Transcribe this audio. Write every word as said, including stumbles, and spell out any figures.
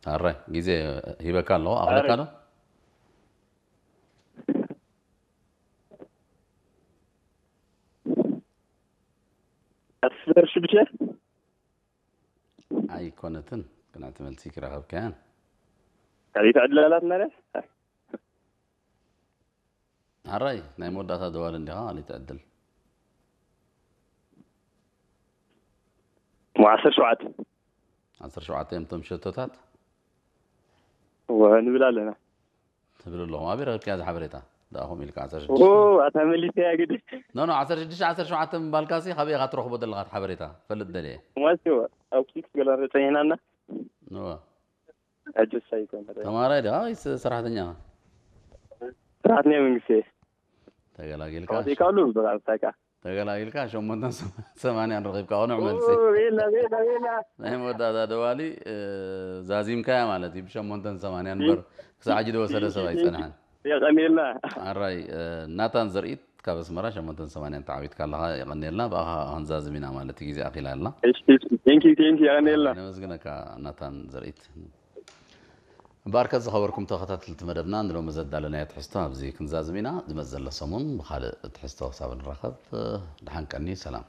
አረ፣ ጊዜ ሂበካ ኣለኹ፣ ኣኽለካ ኣረ። ዶ? አስር ሺህ ብቻ? ኣይኮነትን፣ ቅንዕቲ መልሲ ክረኸብካያን። ካልኢት ዕድል ኣላት ማለት? ኣራይ፣ ናይ መወዳእታ ደዋል እንዲኻ፣ ካልኢት ዕድል። ሞ ዓሰርተ ሸውዓተ። ዓሰርተ ሸውዓተ እዮም እቶም ሸቶታት? እወ፣ ንብል ኣለና። ትብል ኣለኹም። ኣበይ ረኺብካያ እዛ ሓበሬታ? ደኣኹም ኢልካ ዓሰርተ ሽዱሽተ። ኦ፣ ኣታ መሊሰያ ግዲ። ኖ፣ ኖ፣ ዓሰርተ ሽዱሽተ፣ ዓሰርተ ሸውዓተ ምባልካሲ፣ ካበይ ኢኻ ትረኽቦ ዘለኻ እቲ ሓበሬታ? ፈልጥ ደልየ። ማስዮ፣ ኣብ ኪክ ገላ ተጸኒሕናና። እወ። ሕጅስ ኣይኮነ። ተማራይ ዲኻ ወይስ ሰራሕተኛ? ሰራሕተኛ መንግስቲ። ተገላጊልካ። ካውቲ ካሉ ብቃ። ተገላጊልካ፣ ሸሞንተን ሰማንያን ረኺብካ፣ ቅኑዕ መልሲ። ኦ፣ ቤላ፣ ቤላ፣ ቤላ። ናይ መወዳእታ ደዋሊ፣ እ፣ ዛዚምካያ ማለት እዩ፣ ብሸሞንተን ሰማንያን እምበር፣ ክሳዕ ሕጂ ደወሰደ ሰብ ኣይጸንሐን። የቀኔልና። ኣራይ፣ እ፣ ናታን ዘርኢት ካብ ኣስመራ፣ ሸሞንተን ሰማንያን ተዓዊትካ ኣለኻ፣ የቀኔልና፣ ብኣኻ ክንዛዝም ኢና ማለት እዩ፣ ግዜ ኣኺላ ኣላ። እሺ፣ እሺ፣ ቴንኪ፣ ቴንኪ፣ የቀኔልና። ነመስግነካ ናታን ዘርኢት። እምበኣርከ ዝኸበርኩም ተኸታተልቲ መደብና፣ ንሎሚ ዘዳለናዮ ትሕዝቶ ኣብዚ ክንዛዝም ኢና። ዝመጽእ ዘሎ ሰሙን ብኻልእ ትሕዝቶ ክሳብ ንራኸብ፣ ደሓን ቀኒ፣ ሰላም።